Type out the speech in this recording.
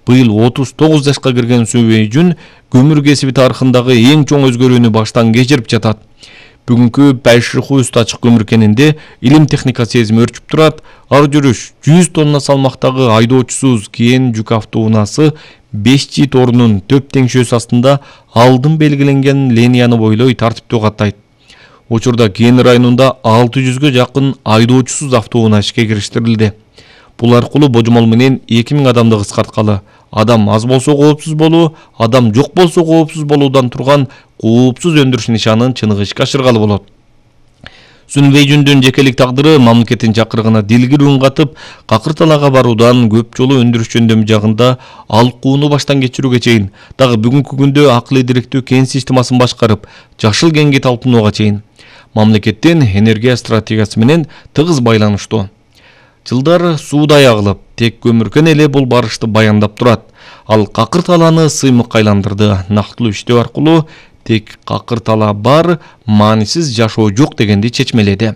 Быйыл 39 жашка кирген Субэйжүн көмүр кесиби тарыхындагы эң чоң өзгөрүүнү баштан кечирип жатат. Бүгүнкү Байшихуст ачык көмүр кенинде илим техника сезими өрчүп турат. Ар жүрүш 100 тонна салмактагы айдоочусуз кен жүк автоунаасы 5G торунун төп теңшөөсү астында алдын белгиленген линияны бойлой тартиптүү каттайт. Учурда Кен районунда 600гө жакын айдоочусуз автоунаа ишке кириштирилди. Бул аркылуу божомол менен 2000 адамды кыскарткалы. Адам аз болсо коопсуз болуу, адам жок болсо коопсуз болуудан турган коопсуз өндүрүш нишанын чыныгы ишке ашыргалы болот. Субэйжүндүн жекелик тагдыры мамлекеттин чакырыгына дилгири үн катып, какыр талаага баруудан көп жолу өндүрүш жөндөмү жагында алкууну баштан кечирүүгө чейин, дагы бүгүнкү күндө акылы дириктүү кен системасын башкарып, жашыл кенге талпынууга чейин мамлекеттин энергия стратегиясы менен тыгыз байланыштуу. Жылдар суудай агылып, тек көмүркен эле бул барышты баяндап турат. Ал какыр талааны сыймыкка айландырды. Нактылуу иштөө аркылуу тек какыр талаа бар, маанисиз жашоо жок дегенди чечмеледи.